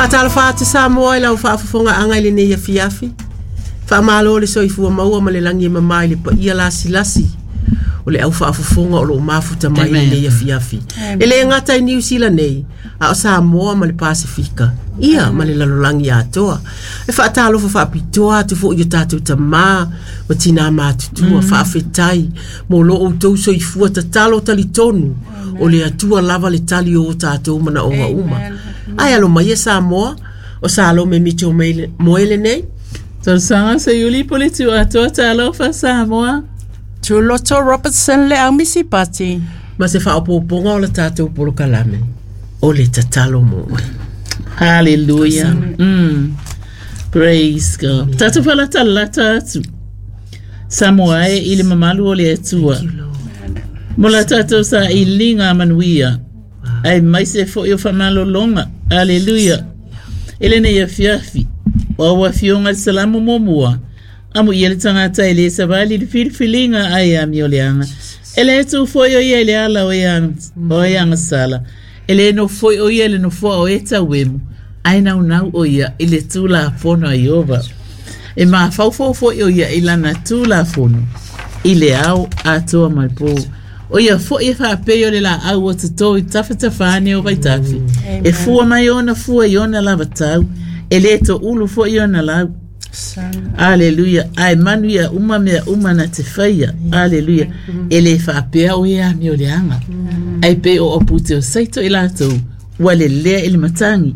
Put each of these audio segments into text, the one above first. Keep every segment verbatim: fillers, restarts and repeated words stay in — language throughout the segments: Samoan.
Faatalofa atu Samoa i lau faafofogaaga i lenei afiafi. Faamalo le soifua maua ma le lagi e mama i le paia lasilasi o le au faafofoga o loo mafuta mai i lenei afiafi. E le gata i Niu Sila nei, a o Samoa ma le Pasefika, ia ma le lalolagi atoa. E faatalofa faapitoa atu foi i o tatou tamā ma tinā matutua, faafetai mo lo outou soifua tatalo talitonu o le Atua lava le tali o o tatou manaoga uma. Ae alo mai e Samoa, o Salome Mitchell Moe lenei. Talosaga Seiuli Poleti atoa talofa Samoa. Tuloto Robertson le aumisi pati. Ma se faaopoopoga o la tatou polokalame, o le tatalo mo oe. Hallelujah. Mm. Praise God. Tatou falatalata atu. Samoa e i le mamalu o le Atua. Mo la tatou sailiga manuia. Aemaise foi o faamalologa. Hallelujah. I lenei afiafi. O au afioga le Salamo muamua. Amuia le tagata e le savali i le filifiliga a e amioleaga. E le tu foi o ia i le ala o e o e agasala. E le nofo foi o ia i le nofoa o e tauemu. Ae naunau o ia i le tulafono a Ieova. E mafaufau foi o ia i lana tulafono i le ao atoa ma le po. O ia foi e faapei o le laau ua toto i tafatafa ane o vaitafe. E fua mai ona fua i ona lava tau. E le toulu foi ona lau. Aleluia. Ae manuia uma mea uma na te faia. Aleluia. E le faapea o e amioleaga. Ae pei o apute o saito i latou. Ua lelea i le matagi.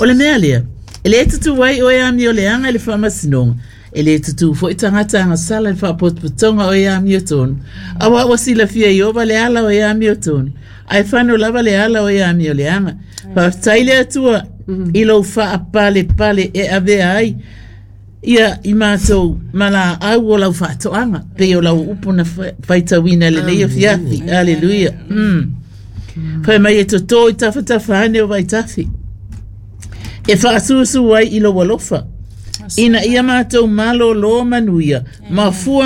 O le mea lea. E le tutu ai o e amioleaga i le faamasinoga. E le tutu foi tagata agasala i le faapotopotoga o e amiotonu. Auā ua silafia e Ieova le ala o e amiotonu. Ae fano lava le ala o e amioleaga. Faafetai le Atua i lou faapalepale e avea ai ia i matou ma laau o lau faatoaga pei o lau upu na faitauina lenei afiafi. Aleluia. Mm. Fai mai e toto i tafatafa ane o vaitafe. E faasuasu ai i lou alofa. Ina ia matou malōlō manuia, ma fua